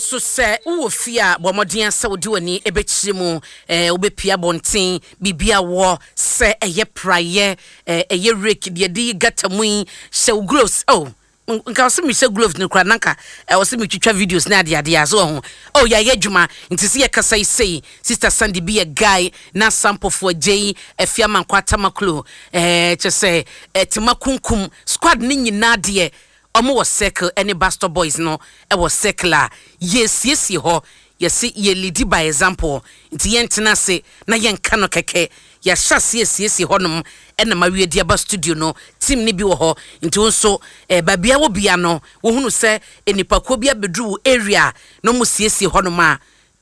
So sɛ wowɔ fie a, bɔ mmɔden sɛ wode w'ani bɛkyerɛ mu, wobɛpia abɔnten, biribi a wɔ sɛ ɛyɛ praeɛ, ɛyɛ rake deɛ de yi gutter mu yi, hyɛ wo gloves. Oh, nka ɔsɛ mehyɛ gloves no koraa na nka ɛwɔ sɛ metwitwa videos ne adeadeɛ a so wɔ ho. Oh, yɛayɛ adwuma nti sɛ yɛkasa yi sei, Sister Sandy bi yɛ guy na Sampɔfoɔ Agyei, Afia Amankwa Tamaklo, kyɛ sɛ Tema Kunkum squad ne nyinaa deɛ ɔmo wɔ circle ɛne Pastor Boys no ɛwɔ circle a yɛsiesie hɔ. Yɛsi yɛ lead by example, nti yɛntena ase na yɛnka no kɛkɛ. Yɛahyɛ ase asiesie hɔnom ɛna ma wie de aba studio no. Team ne bi wɔ hɔ, nti wo nso baabi a wɔ bia no, wohunu sɛ nipakuo bi abɛduru wo area na ɔmo siesie hɔnom a,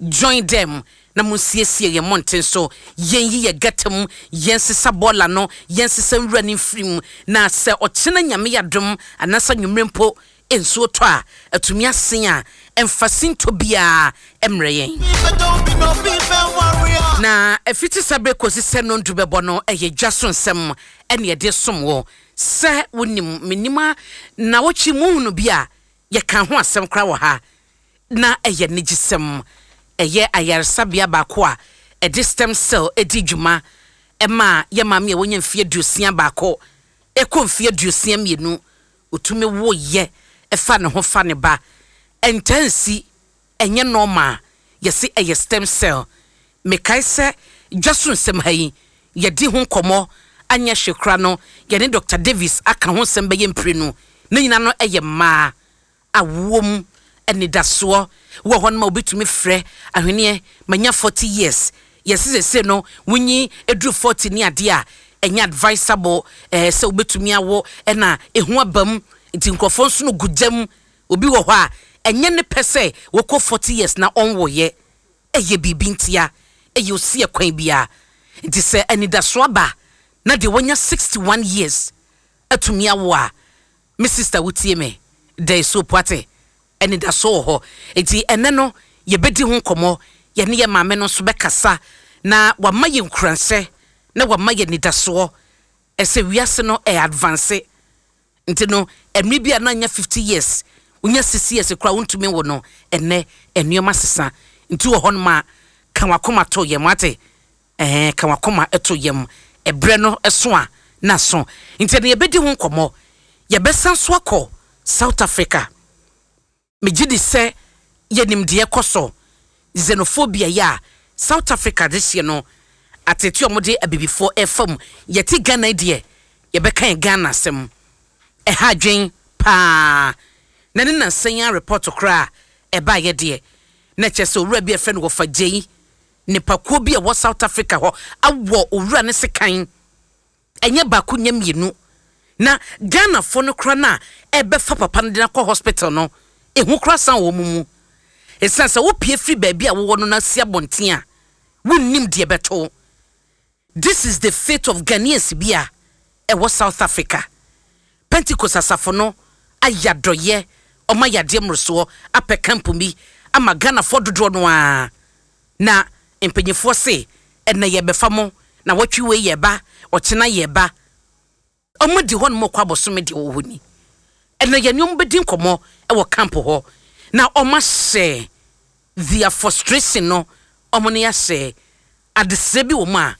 join them na mo siesie yɛn mmɔnten so. Yɛn yi yɛ gutter mu, yɛn sesa bɔɔla no, yɛn sesa nwura ne mfiri mu, na sɛ ɔkyena Nyame yadom anaasɛ nwumire mpo nsuo tɔ a, atumi asen a ɛmfa sinto biara mmerɛ yɛn. Na ɛfiti sɛ bere kɔsi sɛ nondu bɛbɔ no, ɛyɛ dwa so nsɛm ɛne yɛde som wɔ sɛ wonim menim a na wɔtwe mu hunu bi a yɛka ho asɛm koraa wɔ ha, na ɛyɛ nigyesɛm. Ɛyɛ ayaresabea baako a ɛde stem cell edi dwuma ɛma yɛ maame a wɔnya mfeɛ 61 ɛkɔ mfeɛ 62, otumi wo yɛ ɛfa ne ho fa ne ba. Ɛntansi ɛnyɛ normal, yɛsi ɛyɛ stem cell. Mekae sɛ dwa so nsɛm ha yi yɛdi ho nkɔmmɔ, anyɛ hwɛ kora no, yɛne Dr Davis aka ho nsɛm bɛyɛ mprenu ne nyinaa no. Ɛyɛ mmaa awoɔ mu anidasoɔ wɔ hɔ no ma obitumi frɛ ahweneɛ manya 40 years. Yɛsi sese no wonyi eduru 40 ne adeɛ a, ɛnyɛ advisable sɛ wobɛtumi awo, ɛna ehu aba mu, nti nkurɔfoɔ nso no gu gyam. Obi wɔ hɔ a ɛnyɛ ne pɛ sɛ wɔkɔ 40 years na ɔnwoyɛ, ɛyɛ biribi ntia, ɛyɛ osi ɛkwan biara. Nti sɛ anidasoɔ aba na deɛ wɔnya 61 years atumi awo a, me sister wotie me, there is hope. Ate anidasoɔ wɔ hɔ, nti ɛnɛ no yɛbɛdi ho nkɔmmɔ. Yɛne yɛ maame no nso bɛkasa na wama yɛ nkuranhyɛ na wama yɛ nidasoɔ ɛsɛ wiase no ɛyɛ advance. Nti no ɛmiri bi a na nya 50 years, wonya 60 years koraa wontumi wo no, ɛnɛ nneɛma sesa. Nti wɔ hɔnom a, ka wakoma to yɛm ate, ka wakoma to yɛm, ɛbrɛ no ɛso a na so. Nti ɛno yɛbɛdi ho nkɔmmɔ. Yɛbɛsan so akɔ South Africa. Megye di sɛ yɛnim deɛ kɔ so, xenophobia yɛ a South Africa de hyɛ no atete a wɔde abibifoɔ ɛfa mu. Yɛte Ghana yi deɛ, yɛbɛka yɛn Ghana asɛm. Ɛha adwen paa na ne nansan yi report koraa ɛbaayɛ deɛ, na kyerɛ sɛ owura bi a ɛfrɛ no Wɔfa Gyei, nipakuo bi a ɛwɔ South Africa hɔ awɔ owura ne sekan, ɛnyɛ baako, nyɛ mmienu. Na Ghanafoɔ no koraa no a ɛbɛfa papa no de no akɔ hospital no, ehu koraa san wɔ mu mu, ɛsiane sɛ wopie firi baabi a wowɔ no na si abɔnten a, wonnim deɛ bɛto. This is the fate of Ghanaians bi a ɛwɔ South Africa. Pentecost asafo no ayɛ adɔyɛ, ɔma yadeɛ mmorosoɔ apɛ camp bi ama Ghanafoɔ dodoɔ no ara, na mpanyinfoɔ se ɛnɛ yɛbɛfa mo na wɔtwe wei yɛ ba, ɔkyena yɛ ba. Ɔmo di hɔ nom kɔ abɔsome deɛ wɔ hɔ ni. Ɛnɛ yɛne ɔmo bɛdi nkɔmmɔ ɛwɔ camp hɔ na ɔmo ahyɛ their frustration no, ɔmo ne ahyɛ adesrɛ bi wɔ mu a.